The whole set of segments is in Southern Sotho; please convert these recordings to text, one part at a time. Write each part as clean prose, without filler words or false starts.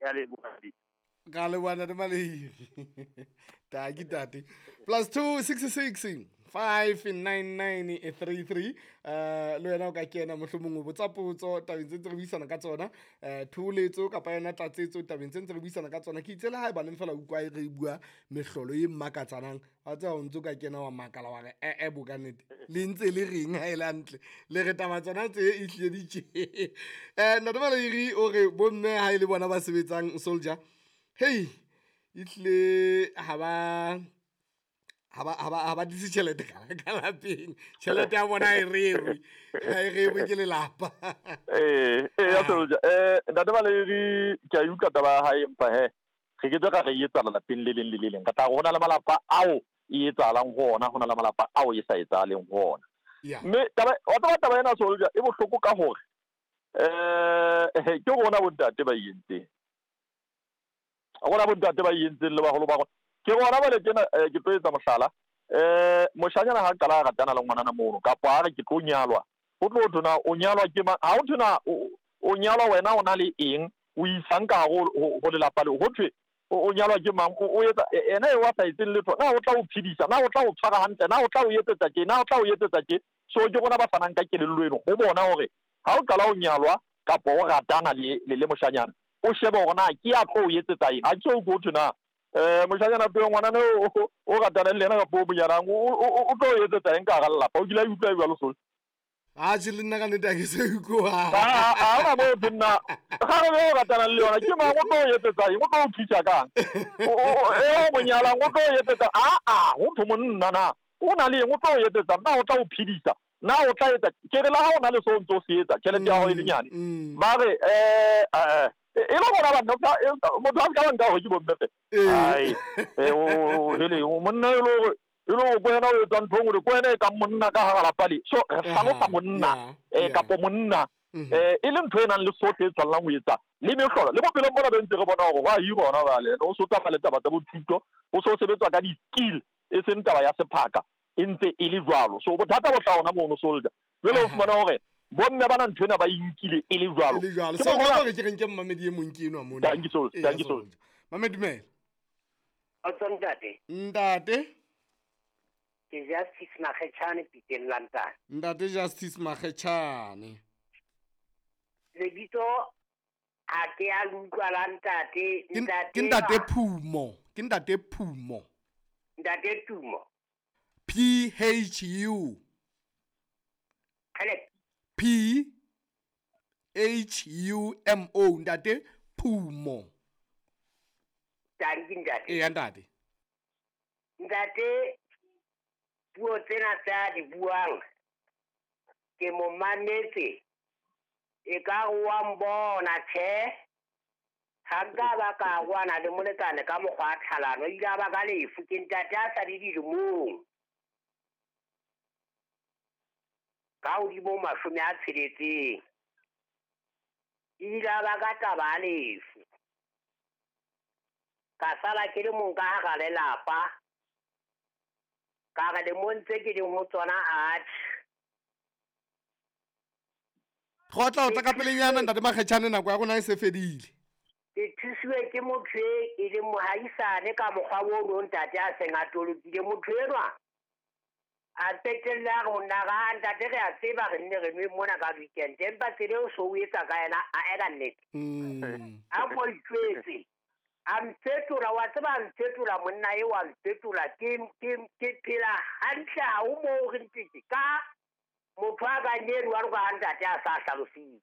Ya leboha. Ka leboha ntate Maleiri. Taki tate. +2 66 59933. Le wena o ka kena, mohlomong o botsa potso tabeng tse ntse re buisana ka tsona, thoholetso kapa yona tlatsetso tabeng tse ntse re buisana ka tsona. Ke itse le ha e baneng fela utlwa re bua mehlolo e makatsanang, wa tseba, o ntso ka kena wa makala wa re ee bo ka nnete le ntse le reng ha e le hantle le re taba tsona tse e hlile di tje. Ntate Maleiri o re bomme ha e le bona ba sebetsang soldier, hei, ehlile ha ba tlise tjhelete ka lapeng, tjhelete ya bona ha e rerwe, ha e rerwe ke lelapa. Ee, ya soldier, ntate Maleiri, ke a e utlwa taba ya hae, empa he re ke tse ra re e etsahala lapeng le leng le le leng. Re tla re ho na le malapa ao e etsahalang ho ona, ho na le malapa ao e sa etsahaleng ho ona. Mme taba wa tseba, taba ena, soldier, e bohloko ka hore ke rona bontate ba e entseng, rona bontate ba e entseng le baholo ba rona, ke rona bale tjena. Ke tlo etsa mohlala. Moshanyana ha qala a ratana le ngwanana mono, kapa a re ke tlo nyalwa, ho tlo thwe na o nyalwa ke mang? Ha ho thwe na o nyalwa wena o na le eng, o isang ka hare ho lelapa leo. Ho thwe o nyalwa ke mang, o etsa ena eo a sa etseng letho, na o tla o phedisa, na o tla o tshwara hantle, na o tla o etsetsa tje, na o tla o etsetsa tje? So ke rona ba fanang ka kelello eno ho bona hore ha o qala o nyalwa kapa o ratana le moshanyana, o shebe hore na ke ya tlo o etsetsa eng. Ha ke so ho thwe na moshanyana peo ngwanana o ratana le yena kapa o monyalang o tlo o etsetsa eng ka hara lelapa. O kile a utlwa jwalo so? Atjhe, le nna ka nnete ha ke se utlwa. Ha ona moo thwe nna kgarebe o ratanang le yona ke mang, o tlo o etsetsa eng, o tlo o thusa kang, e o monyalang o tlo o etsetsa? Aa, ho thwe monna na o na le eng, o tlo o etsetsa, na o tla o phedisa, na o tla etsa? Ke re le ha o na le seo o ntse o se etsa, tjhelete ya hao e le nyane, ba re e le rona banna, motho a se ka ba nka hore ke bomme fe. Ai, hele, monna e le hore ko wena o etsang ntho e nngwe, ko wena e kang monna ka hara lapa le. So re hlalosa monna kapo monna e le ntho e nang le sohle e tshwanelang ho etsa le mehlolo le bophelong bona be ntse re bona hore ho a hirwa hona jwale, o so tsamaya le taba tsa bo thuto, ho so sebetswa ka di-skill, e seng taba ya sephaka e ntse e le jwalo. So bothata bo tla hona mono, soldier. Jwale o fumana hore bomme bana ntho ena ba e nkile e le jwalo. E le jwalo. So hore ke reng ke mmamedi e mong ke enwa mona. Thank you, soldier. Thank you, soldier. Mame, dumela. Kgotso, ntate. Ntate. Ke Justice Makgetjhane, Piteng Lantane. Ntate Justice Makgetjhane. Lebitso a ke a le utlwa la ntate. Ntate. Ke ntate Phumo, ke ntate Phumo. Ntate Tumo. P H U. Kgele. P H U M O, ntate Phumo. Tanki, ntate. Eya, ntate. Ntate, puo tsena tse a di buang ke mo mametse, e ka re wa mbona. Tjhe, ha nka ba ka kwana le molekane ka mokgwa wa tlhalano, ile a ba ka lefu. Ke ntate a sa le dilemong ka hodimo 60, ile a ba ka taba ya lefu, ka sala ke le mong ka hara lelapa. Ka re lemong tse ke leng ho tsona, atjhe. Go tla o tla ka pelenyana, ntate Makgetjhane, nako ya rona e se fedile. Ke thusiwe ke motho e leng mohaisane ka mokgwa o no ntate a seng a tolokile motho enwa, a qetelle a re ho nna ra ntate, re a tseba re nne re nwe mona ka weekend, empa tsela eo so o etsa ka yena a eka nnete. A ko itjwetse, a mfetola, wa tseba, a mfetola monna eo, a mfetola. Ke phela hantle, ha ho moo re ntse ka motho a kang eno wa ka ntate a sa hlalositse.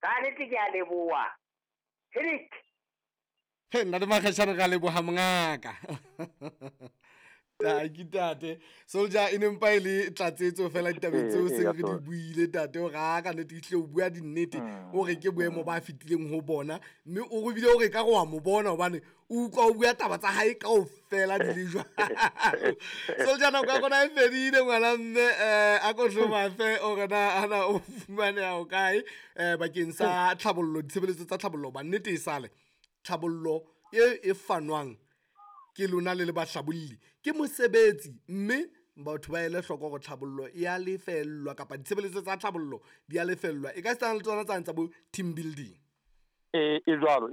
Ka nnete ke a leboha, Henrik. He, ntate Makgetjhane, ra leboha mongaka. Taki tate. Soldier, e ne mpa e le tlatsetso fela ditabeng tseo seng re di buile. Tate o ra ka nnete ehlile o bua dinnete, o re ke boemo ba fetileng ho bona, mme o re bile o re ka re wa mo bona hobane o utlwa o bua taba tsa hae kaofela di le jwalo. Soldier, nako ya rona e fedile, ngwana mme. A ko hlomafe o re na ana o fumaneha o kae bakeng sa tlhabollo, ditshebeletso tsa tlhabollo, ba nnete e sale tlhabollo e fanwang ke lona le le bahlabolli ke mosebetsi, mme batho ba ele hloko hore tlhabollo e a lefellwa kapa ditshebeletso tsa tlhabollo di a lefellwa, e ka setsana le tsona tsane tsa bo team building. E jwalo.